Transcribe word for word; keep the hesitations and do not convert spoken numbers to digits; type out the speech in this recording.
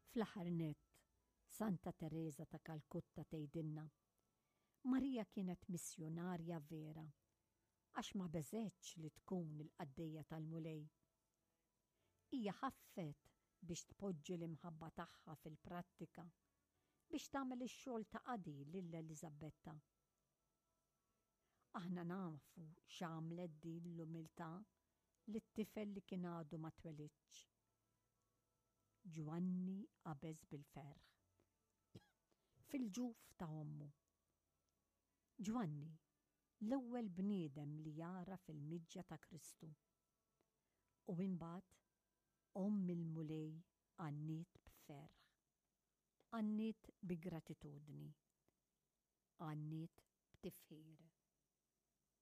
Fl-aħħar nett, Santa Tereża ta' Kalkutta tgħidilna: Marija kienet missjonarja vera, għax ma beżgħetx li tkun il-qaddejja tal-Mulej. Hija ħaffet biex tpoġġi l-imħabba tagħha fil-prattika biex tagħmel ix-xogħol ta' qadi lil Eliżabetta. Aħna nafu x'għamlet din l-umiltà lit-tifel li kien għadu ma twelidx. Ġwanni qabeż bil-ferħ fil-ġuf ta' ommu. Ġwanni, l-ewwel bniedem li jara fil-miġja ta' Kristu. U imbagħad omm il-Mulej għanniet b'ferħ. Għanniet bi gratitudni. Għanniet b'tifħir.